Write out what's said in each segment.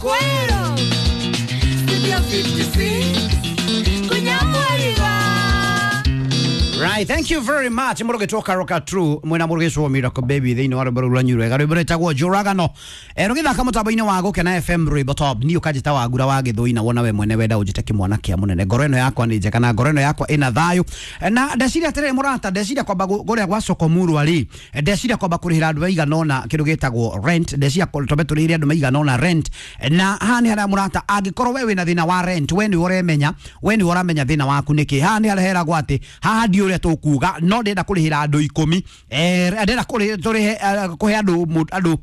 Kwero Studio 56 Kunyamwariwa. Right, thank you very much. Mũrũgĩtwo Roka True mwena mũrũgĩcwo Miracle Baby thĩinĩ wa rwĩmbo rũu rwanyu rwega, rwĩmbo rwĩtagwo Njũragano. Rũgĩthaka mũtambo-inĩ wa Gũkena FM rwĩmbo top. Niĩ ũkanjĩta Wangura wa Gĩthũi na wona we mwene wenda ũnjĩte kĩmwana kĩa mũnene. Ngoro ĩno yakwa nĩ njega na ngoro ĩno yakwa ĩna thayũ. Na ndeciria atĩrĩrĩ mũrata, ndeciria kwamba kũrĩa gwa Sokomurwa rĩ, ndeciria kwamba kũrĩhĩra andũ maigana ũna kĩndũ gĩtagwo rent. Ndeciria twambe tũrĩhĩre andũ maigana ũna rent. Na haha nĩ harĩa mũrata, angĩkorwo we wĩna thĩna wa rent, we nĩwe ũremenya, we nĩwe ũramenya thĩna waku nĩkĩ. Haha nĩ harĩa heragwo atĩ haha ndi ũrĩa tũkuga, no ndĩrenda kũrĩhĩra andũ 10, ndĩrenda tũrĩhe, kũhe andũ andũ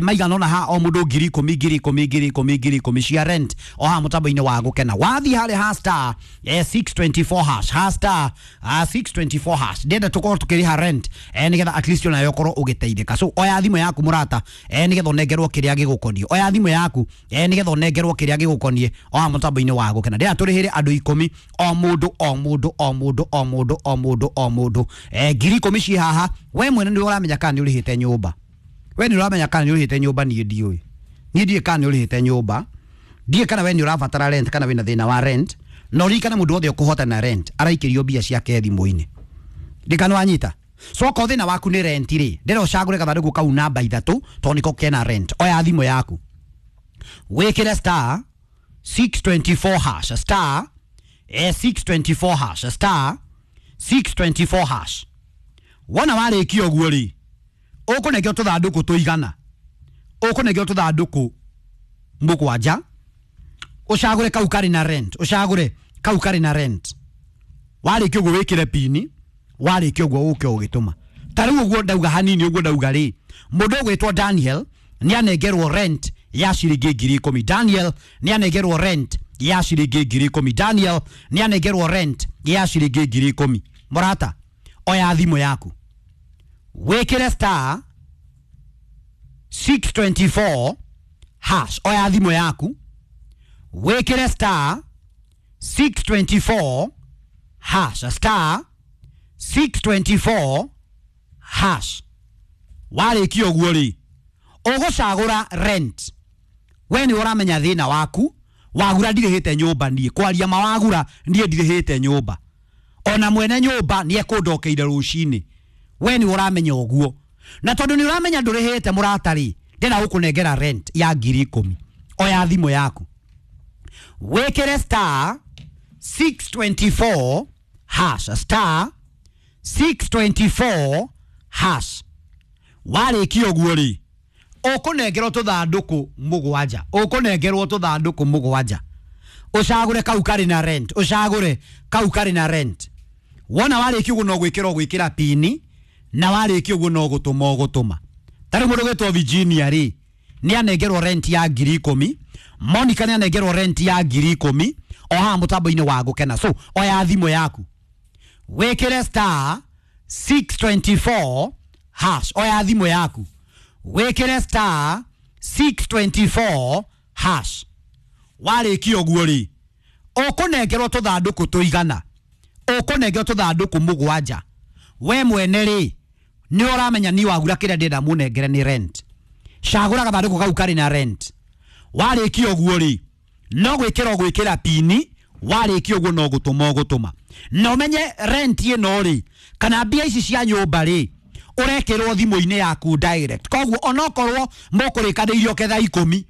maigana ũna haha, o mũndũ 10,000, 10,000, 10,000, 10,000 cia rent o haha mũtambo-inĩ wa Gũkena. Wathiĩ harĩa ha star 624 hash, ha star 624 hash, ndĩrenda tũkorwo tũkĩrĩha rent, nĩgetha at least onawe ũkorwo ũgĩteithĩka. So oya thimũ yaku mũrata, nĩgetha ũnengerwo kĩrĩa gĩgũkoniĩ. Oya thimũ yaku, nĩgetha ũnengerwo kĩrĩa gĩgũkoniĩ o haha mũtambo-inĩ wa Gũkena. Ndĩrenda tũrĩhĩre andũ 10, o mũndũ o mũndũ o mũndũ o mũndũ o mũndũ o mũndũ, 10,000 ciĩ haha. We mwene nĩ ũramenya kana nĩ ũrĩhĩte nyũmba. We nĩ ũramenya kana nĩ ũrĩhĩte nyũmba. Niĩ ndiũĩ, niĩ ndiũĩ kana nĩ ũrĩhĩte nyũmba, ndiũĩ kana we nĩ ũrabatara rent kana wĩna thĩna wa rent. Na ũririkane mũndũ wothe ũkũhotana rent araikĩrio mbia ciake thimũ-inĩ. Ndikana wanyita. So okorwo thĩna waku nĩ rent rĩ, ndĩrenda ũcagũre gathandũkũ kau namba 3 tondũ nĩko kena rent. Oya thimũ yaku wĩkĩre star 624 hash, star 624 hash, star 624 hash. Wona warĩkia ũguo rĩ, ũkũnengerwo tũthandũkũ tũigana, ũkũnengerwo tũthandũkũ 7, ũcagũre kau karĩ na rent, ũcagũre kau karĩ na rent. Warĩkia ũguo wĩkĩre pini, warĩkia ũguo ũke ũgĩtũma. Ta rĩu ũguo ndauga hanini, ũguo ndauga rĩ, mũndũ ũgwĩtwo Daniel nĩ anengerwo rent ya ciringi 10,000. Daniel nĩ anengerwo rent ya ciringi 10,000. Daniel nĩ anengerwo rent ya ciringi 10,000. Mũrata, oya thimũ yaku wĩkĩre star 624 hash. Oya thimũ yaku wĩkĩre star 624 hash, star 624 hash. Warĩkia ũguo rĩ, ũgũcagũra rent. We nĩ ũramenya thĩna waku. Wagura ndirĩhĩte nyũmba, niĩ kwaria mawagura niĩ ndirĩhĩte nyũmba, ona mwene nyũmba nĩ ekũndokeire rũcinĩ. We nĩ ũramenya ũguo, na tondũ nĩ ũramenya ndũrĩhĩte mũrata rĩ, ndĩrenda gũkũnengera rent ya 10,000. Oya thimũ yaku wĩkĩre star 624 hash, star 624 hash. Warĩkia ũguo rĩ, ũkũnengerwo tũthandũkũ 7, ũkũnengerwo tũthandũkũ 7, ũcagũre kau karĩ na rent, ũcagũre kau karĩ na rent. Wona warĩkia ũguo no gwĩkĩra ũgwĩkĩra pini, na warĩkia ũguo no gũtũma ũgũtũma. Ta rĩu mũndũ ũgwĩtwo Virginia rĩ, nĩ anengerwo rent ya 10,000. Monica nĩ anengerwo rent ya 10,000 o haha mũtambo-inĩ wa Gũkena. So oya thimũ yaku wĩkĩre star 624 hash. Oya thimũ yaku wĩkĩre star 624 hash. Warĩkia ũguo rĩ, ũkũnengerwo tũthandũkũ tũigana, ũkũnengerwo tũthandũkũ 7. We mwene rĩ, nĩ ũramenya niĩ wagura kĩrĩa ndĩrenda mũnengere nĩ rent. Cagũra gathandũkũ kau karĩ na rent. Warĩkia ũguo rĩ, no gwĩkĩra ũgwĩkĩra pini, warĩkia ũguo no gũtũma ũgũtũma. Na ũmenye rent ĩno rĩ, kana mbia ici cia nyũmba rĩ, ũrekĩrwo thimũ-inĩ yaku direct. Koguo onokorwo mũkũrĩkanĩirie ũke thaa 10.